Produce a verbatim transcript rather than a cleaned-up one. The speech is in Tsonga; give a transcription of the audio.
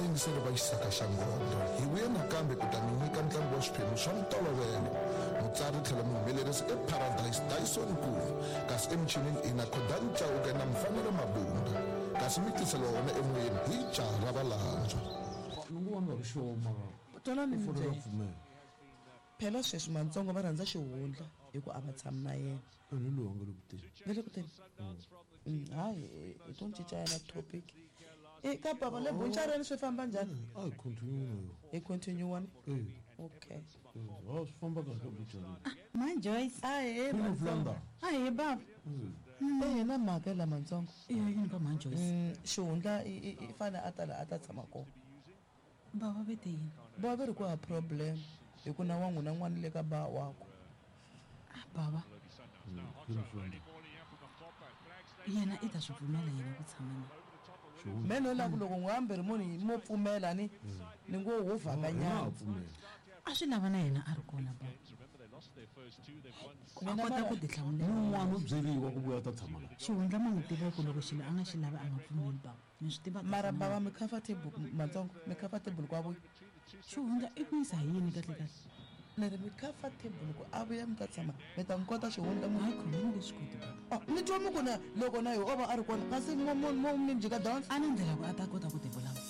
Vayingiseri va Xisaka xa Nghondo, hi vuye nakambe ku ta mi nyika ntlangu wa swiphemu swa ntolovelo. Mutsari tlhelo muhumelerisi i Paradise Dyson Nkulu, kasi emichinini i na Khodani Chauke na Mfanelo Mabunda, kasi mi tisela wona emoyeni hi jaha ra valandzwa. Ni ngo va nga ri sure mara Twanani u mi fanele a byela. pfumela. Phela sweswi Mantsongo va rhandza xihundla hi ku a va tshami na yena. Ene loyi a nga le ku teni. Va le ku teni? Mm, hayi hi to cinca yana topic. E ka baba le bunchareni swi famba njhani? A hi continue na yona. Hi continue wani? Eh. Okay. Eh, a swi famba kahle bunchareni. Ma Joyce. Ahee, Queen of Mantsongo. London. Ahee baba. Eh na mhaka la Mantsongo. Eh yini ba Ma Joyce? Mm, xihundla i i i fane a ta la a ta tshama kona. Baba vete yini? Baba ve ri ku hava problem hi ku na wa n'wina n'wana le ka ba wakwe. Ah baba. Yena i ta swi pfumela yena ku tshama na. Me no la ku loko n'wi hamberi munhu mo pfumela ni ni ngo wo vhakanyana. A swi lava na yena a ri kona baba. A Mina kota mara- ku tihlamulela. Un'wana u byeriwa ku vuya ta tshama la. Xihundla ma n'wi tiva ku loko xilo a nga xi lavi a nga pfumeli baba. Ni swi tiva kahle Mara na baba mi comfortable Mantsongo, mi comfortable ku a vuya. Xihundla i ku yisa hi yini kahle kahle? Ni ri mi comfortable ku a vuya mi ta tshama mi ta n'wi kota xihundla mu. Hayi khona ni nge swi koti baba. Oh, ni twa mi ku na loko na yo o va a ri kona kasi mo mo mo mi jika dance. A na ndlela ku a ta kota ku ti vulavula.